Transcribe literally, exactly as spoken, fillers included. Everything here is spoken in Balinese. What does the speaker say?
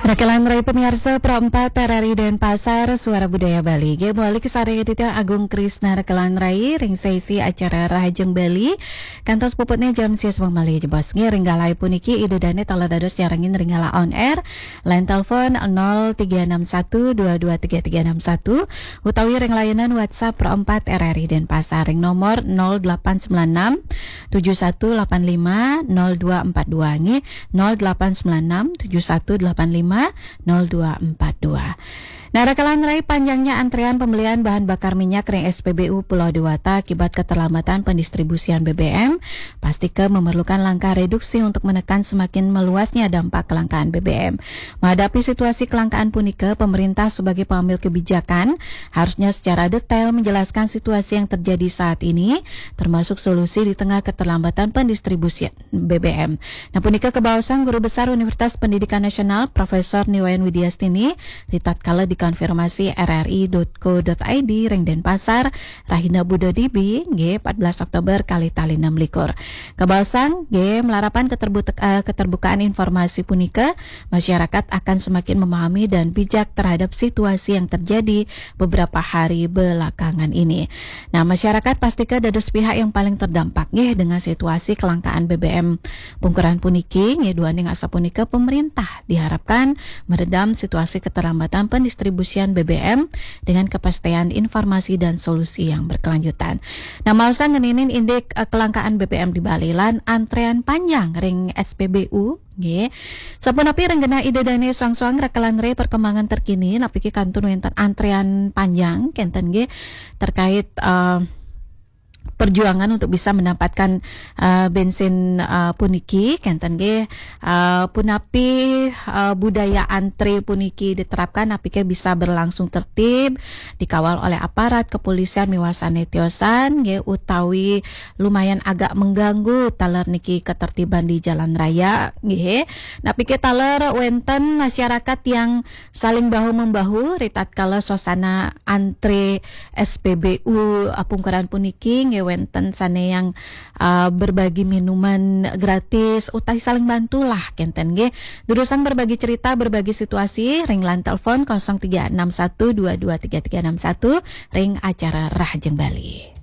Rekelan rai pemiarsa Pro empat R R I Denpasar, Suara Budaya Bali. Nggih, mawali kasarengin Aditya Agung Krisna Rekelan rai ring sesi acara Rahajeng Bali. Kantos puputne jam sias malih jebos. Nggih, ring galah puniki Ida Dane taler dados nyarengin ring galah on air. Line telepon nol tiga enam satu dua dua tiga tiga enam satu utawi ring layanan WhatsApp Pro empat R R I Denpasar ring nomor nol delapan sembilan enam tujuh satu delapan lima nol dua empat dua, nggih, nol delapan sembilan enam tujuh satu delapan lima nol dua empat dua. Nah, rekelan rai, panjangnya antrean pembelian bahan bakar minyak ring S P B U Pulau Dewata akibat keterlambatan pendistribusian B B M, pastika memerlukan langkah reduksi untuk menekan semakin meluasnya dampak kelangkaan B B M. Menghadapi situasi kelangkaan punika, pemerintah sebagai pengambil kebijakan harusnya secara detail menjelaskan situasi yang terjadi saat ini, termasuk solusi di tengah keterlambatan pendistribusian B B M. Nah, punika kabaosang Guru Besar Universitas Pendidikan Nasional, Profesor Ni Wayan Widiastini, ritatkala dikonfirmasi R R I dot co dot I D ring Denpasar, rahina Buda Dibi, nggih, empat belas Oktober kalih tali enam likur. Kabaosang, nggih, malarapan keterbutek-, eh, keterbukaan informasi punika, masyarakat akan semakin memahami dan bijak terhadap situasi yang terjadi beberapa hari belakangan ini. Nah, masyarakat pastika dados pihak yang paling terdampak, nggih, dengan situasi kelangkaan B B M pungkuran puniki, nggih, duaning asapunika pemerintah diharapkan meredam situasi keterlambatan pendistribusian B B M dengan kepastian informasi dan solusi yang berkelanjutan. Nah, maosang ngeninin indik, eh, kelangkaan B B M di Bali lan antrean panjang ring S P B U, nggih. Sapunapi ring genah Ida Dane soang-soang rekelan rai perkembangan terkini, napiki kantun wenten antrean panjang kenten, nggih, terkait, eh, perjuangan untuk bisa mendapatkan, eh, bensin, eh, puniki kenten, nggih. Eh, punapi, eh, budaya antre puniki diterapkan, napike bisa berlangsung tertib, dikawal oleh aparat kepolisian miwah sane tiosan, nggih, utawi lumayan agak mengganggu taler niki ketertiban di jalan raya, nggih. Napike taler wenten masyarakat yang saling bahu-membahu ritatkala suasana antre S P B U pungkuran puniki, nggih, wenten sane yang, eh, berbagi minuman gratis utawi saling bantulah kenten, nggih. Durusang berbagi cerita, berbagi situasi ring line telepon kosong tiga enam satu dua dua tiga tiga enam satu ring acara Rahajeng Bali.